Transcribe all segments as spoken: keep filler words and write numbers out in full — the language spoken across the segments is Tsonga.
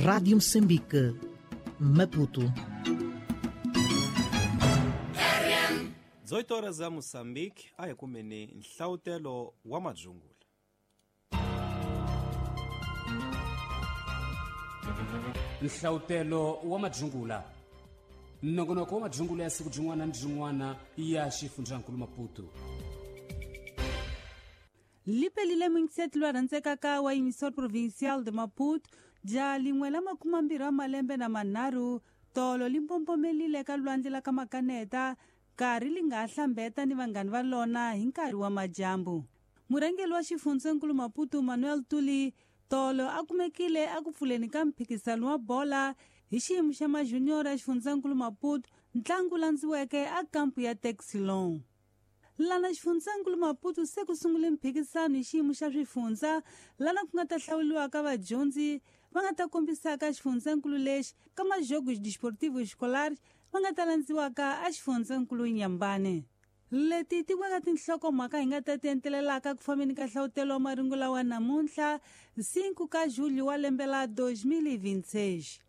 Rádio Moçambique, Maputo. dezoito horas a Moçambique, a ekumene nhlautelo wa madzungula. Nhlautelo wa madzungula. Nongonoko wa madzungula ya siku jin'wana ni jin'wana ya xifundzankulu Maputo. Lipelile mingiseti lwa rhandzekaka wa emissor provincial de Maputo ja lin'we la makume mbirhi wa malembe na manharhu tolo li mbombomelile ka lwandle la ka Makaneta nkarhi li nga hlambeta ni vanghani va lona hi nkarhi wa madyambu. Murhangeri wa xifundzankulu Maputo Manuel Tuli tolo a kumekile a ku pfuleni ka mphikizano wa bola hi xiyimo xa majunior ya xifundzankulu Maputo ntlangu landziweke a kampu ya Texilon. Lana xifundzankulu Maputo se ku sungule mphikizano hi xiyimo xa swifundza lana ku nga ta hlawuriwa ka vadyondzi va nga ta kombisaka xifundzankulu lexi ka majogos desportivos escolares va nga ta landziwaka a xifundzankulu Nyambane. Leti tin'wana tinhlokomhaka hi nga ta ti entelelaka ku fambeni ka nhlawutelo wa marungula wa namuntlha cinco ka julho wa lembe la dois mil e vinte e seis.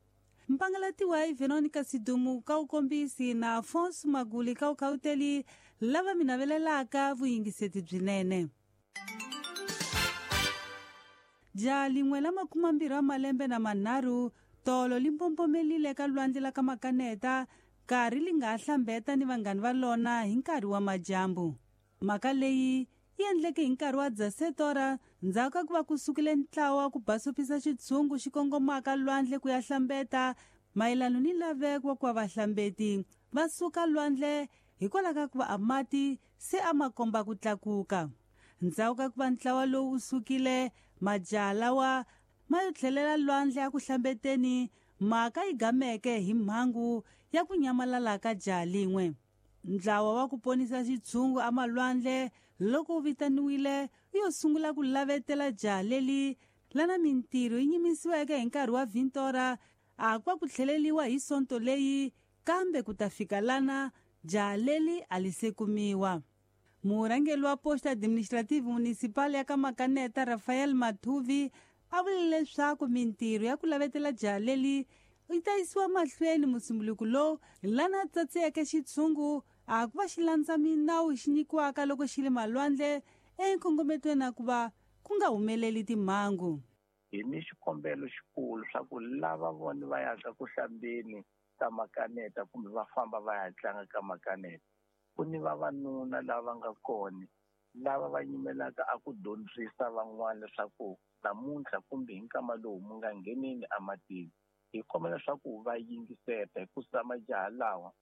Mpangalatiwa hi Veronica Sidumu ka ukombisi na Afonso Maguli ka ukhauteli lava mi navelelaka vuyingiseti byinene. Ja lin'we la makume mbirhi wa malembe na manharhu tolo li mbombomelile ka lwandle la ka Makaneta nkarhi li nga hlambeta ni vanghani va lona hi nkarhi wa madyambu. Mhaka leyi yi endleke hi nkarhi wa dzasetora ndzhaku ka ku va ku sukile ntlawa ku basopisa xitshungu xi kongomaka lwandle ku ya hlambeta mayelano ni laveko wa ku va vahlambeti va suka lwandle hikwalaho ka ku va a mati se a ma komba ku tlakuka. Ndzhaku ka ku va ntlawa lowu wu sukile majaha lawa ma yo tlhelela lwandle a ku hlambeteni mhaka yi gameke hi mhangu ya ku nyamalala ka jaha lin'we. Ntlawa wa ku ponisa xitshungu amalwandle loko wu vitaniwile wu yo sungula ku lavetela jaha leli lana mintirho yi nyimisiweke hi nkarhi wa vintora a kwa ku tlheleliwa hi sonto leyi kambe ku ta fika lana jaha leli a li se kumiwa. Murhangeri wa posto administrative municipal ya ka Makaneta Rafael Mathuvi a vule leswaku mintirho ya ku lavetela jaha leli yi ta yisiwa mahlweni musumbuluko lowu lana tsatsiyeke xitshungu a ku va xi landza minawu xi nyikiwaka loko xi le malwandle enkongometweni a ku va ku nga humeleli timhangu. Hi ni xikombelo xikulu swa ku lava vona va yaka ku hlambeni ka Makaneta kumbe va famba va ya tlanga ka Makaneta ku ni vavanuna lava nga kona lava va yimelaka a ku dyondzisa van'wana leswaku namuntlha kumbe hi nkama lowu mu nga ngheneni ematini. Hi kombela leswaku va yingiseta hikusa majaha lawa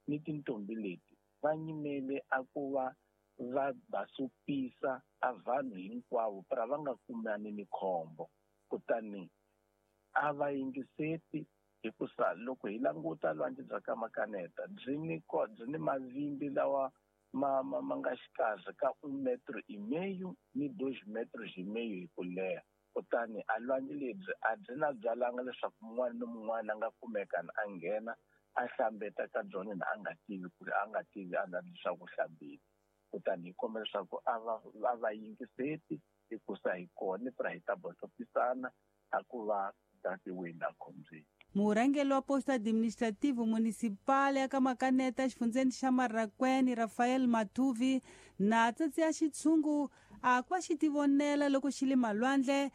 ni tintombi leti va nyimele a ku va va basopisa a vanhu hinkwavo pra va nga kumani ni khombo. Kutani a va yingiseti hikusa loko hi languta lwandle bya ka Makaneta byi ni byi ni mavimbi lawa ma ma ma nga xikarhi ka un metro e meio ni dois metros e meio hi ku leha. Kutani a lwandle lebyi a byi na byalanga leswaku mun'wana ni mun'wana a nga kumeka a nghena a hlambeta ka byona na a nga tivi ku ri a nga tivi a nga leswaku hlambile. Kutani hi kombela leswaku a va va va yingiseti hikusa hi kona pra hi ta bosopisana a ku va tatiweni a khombyeni. Murhangeri wa posto administrativo municipal ya ka Makaneta xifundzeni xa Marracuene Rafael Mathuvi na tsatsi ya xitshungu a ku va xi tivonela loko xi le malwandle